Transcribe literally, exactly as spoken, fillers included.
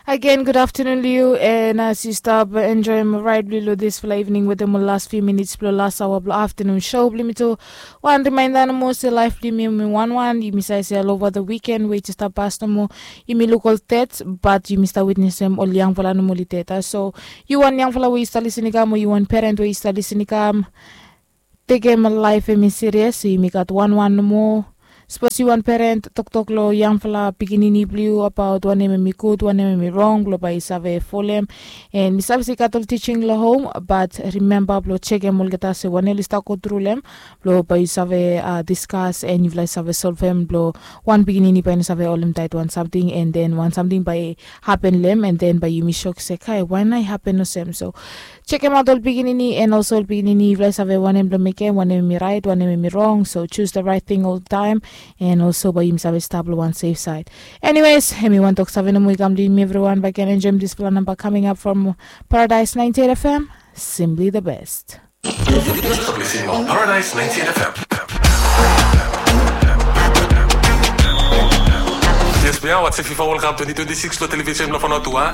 Agen, gud aftenun long yu, and as yu stap enjoim raid blong yu long dispela evening wetem ol las few minits blong las awa blong aftenun show blong yumi tu. Wan rimainda nomo se laif blong yumi em i wanwan. Yumi save se olova the weekend we i jes stap pas nomo, yumi luk ol tet, bat yumi stap witnesem ol yangfala nomo oli tet. So yu wan yangfala we yu stap lisin i kam, o yu wan peren we yu stap lisin i kam, tekem laif em i sirias, so yumi gat wanwan nomo. Sapos yu wan peren, toktok long yangfala pikinini blong yu abaot wanem em i gud, wanem em i rong, blong bae yu save folem. And mi save se i gat ol tising long hom, bat rimemba blong jekem olgeta se wanem oli stap go tru long em, blong bae yu save diskas and yufala i save solvem, blong wan pikinini bae i no save holem taet wan samting, and then wan samting bae i hapen long em, and then bae yumi sok se, kai, wae nao i hapen olsem? So jekemaot ol pikinini, and also ol pikinini, yufala i save wanem blong mekem, wanem em i raet, wanem em i rong. So choose the right thing oltaem, and also bae yumi save stap long wan safe side. Anyways, em i wan tok save nomo i kam long yumi evriwan, bae ken enjoim dispela namba coming up from Paradise ninety-eight F M, Simply the Best. Paradise ninety-eight F M. Yes, bia watch FIFA World Cup twenty twenty-six long television blong Fanotua.